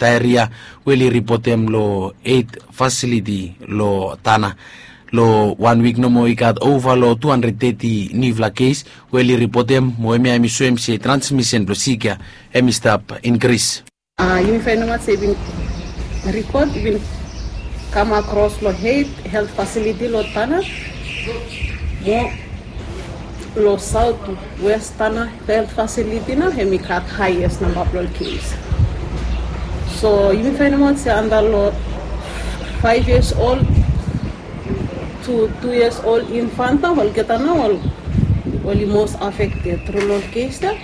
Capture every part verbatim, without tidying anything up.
daeria we oli ripotem long eit fasiliti long Tanna. Long wan wik nomo i gat ova long tu handred teti niufala kes we oli ripotem, mo hemia hemi soem se transmisen blong sik ya hemi stap inkris. Yumi fainemaot se i bin ripot i bin kam akros long eit helt fasiliti long Tanna, mo long saot wes Tanna helt fasiliti nao hemi gat haes namba blong ol kes. So yumi fainemaot se antap long faef yias ol tu tu yias ol infanta olgeta nao oli mos afekted tru long ol kes ya.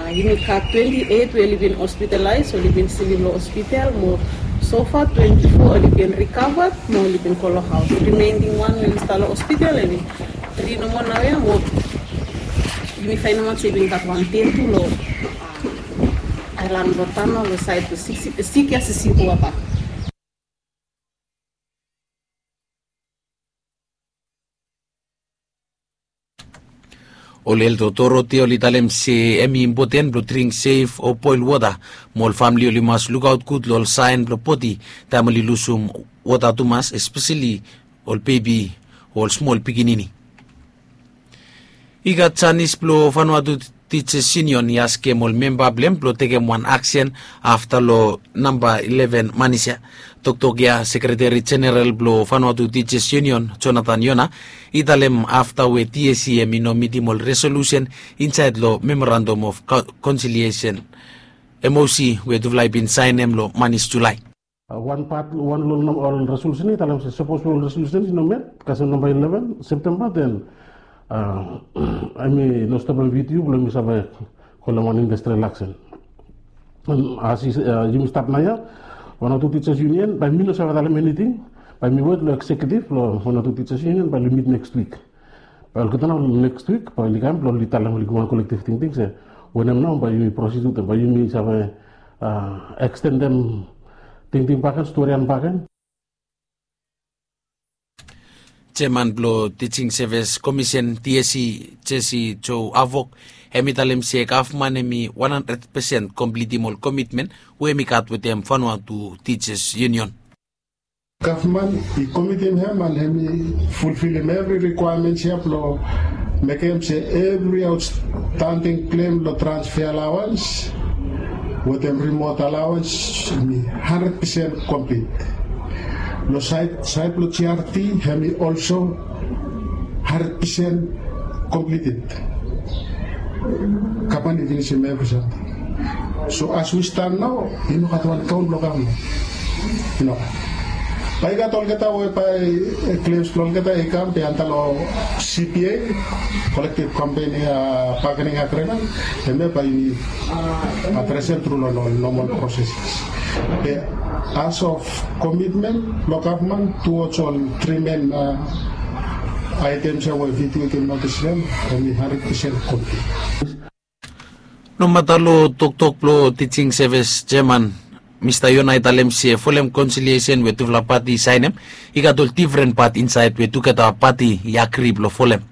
Yumi gat twenti eit we oli bin hospitalaes, oli bin slip long hospital, mo sofa twenti fo oli bin rikava mo oli bin go long haos. Rimening wan we oli stap long hospital hemi tri nomo naoia, mo yumi fainemaot se i bin gat wan ded tu long aelan blong Tanna long saed blong sik ya, sik ya sisi wata. Ol helt otoriti oli talem se hemi impoten blong dring sef o boel wota, mo ol famili oli mas lukaot gud long ol saen blong bodi taem oli lusum wota tumas, espeseli ol bebi o ol smol pikinini. I gat janis blong Vanuatu Teachers Union i askem ol memba blong hem blong tekem wan aksen afta long namba ileven manis ya. Toktok ya sekreteri jeneral blong Vanuatu Teachers Union, Jonathan Yona, i talem afta we TSC hemi no mitim ol resolusen insaed long Memorandum of Conciliation, MOC, we tufala i bin saenem long manis Julae. Wan pat wan long ol resolusen i talem se sapos ol resolusen i no met kasem namba ileven Septemba, den hemi no stopem VTU blong hemi save holem wan industrial aksen. As yumi stap naoia, Vanuatu Teachers Union, bae mi no save talem eniting. Bae mi wet long eksekiutiv blong Vanuatu Teachers Union bae oli mit neks wik. Bae olgeta nao neks wik bae oli kam blong oli talem oli givim wan kolektiv tingting se wanem nao bae yumi prosid wetem, bae yumi save ekstendem tingting bakegen, storian bakegen. Jeaman blong Teaching Service Commission, TSC, Jesse Joe Avok, hemi talem se gavman hemi wan handred pesen komplitim ol komitmen we hemi gat wetem Vanuatu Teachers Union. Gavman i komitim hem and hemi fulfilim evri rikwaemens ya blong mekem se evri aotstanding klem long transfe alawans wetem rimot alawans hemi handred pesen komplit. Long saed blong GRT hemi olso handred pesen komplited. Gavman i finisim evri samting. So as we stand nao i no gat wan kaon blong gavman. I no gat. Bae i gat olgeta we bae klems blong olgeta i kam be antap long CBA, kolektiv kompani bagening agrimen, hemia bae yumi adresem tru long ol nomol proses. Be as of komitmen blong gavman tuwoj ol tri men aetems ya we VTU i givim notis long hem, hemi handred pesen komplit. Nomata long toktok blong Teaching Service Jeaman, Mista Yona i talem se folem konsiliesen we tufala pati i saenem, i gat ol difren pat insaed we tugeta pati i agri blong folem.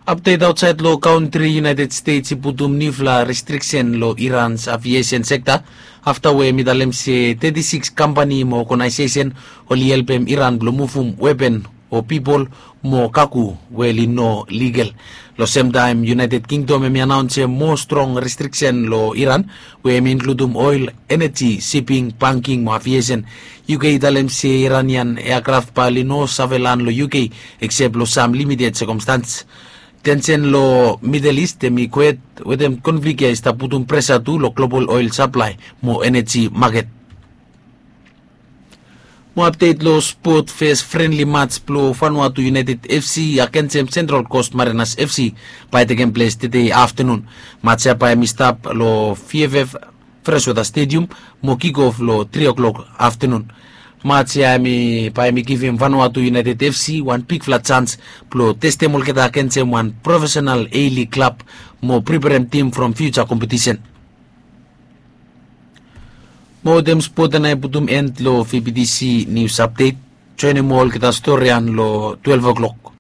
Apdet aotsaed long kantri, United States i putum niufala restriksen long Iran's aviesen sekta afta we hemi talem se teti sikis kampani mo oganaesesen oli helpem Iran blong muvum wepen o pipol mo kago we oli no ligal. Long semtaem United Kingdom hemi anaonsem moa strong restriksen long Iran we hemi inkludum oel, eneji, siping, banking mo aviesen. UK i talem se Iranian eakraf bae oli no save lan long UK eksep long sam limited sekomstans. Tensen long Midel Ist hemi kwet wetem konflik ya i stap putum presa tu long global oel saplae mo eneji maket. Mo apdet long spot, fes frenli mats blong Vanuatu United FC agensem Central Coast Mariners FC bae i tekem ples tede aftenun. Mats ya bae hemi stap long VFF Freshwater Stadium mo kikof long tri o'clock aftenun. Mats ya hemi bae hemi givim Vanuatu United FC wan bigfala jans blong testem olgeta agensem wan profesenal A-League klab mo priperem tim from fiuja kompetisen. Mo wetem spot ya nao i putum en long VBTC nius apdet. Joenem moa olgeta storian long twelef o'clock.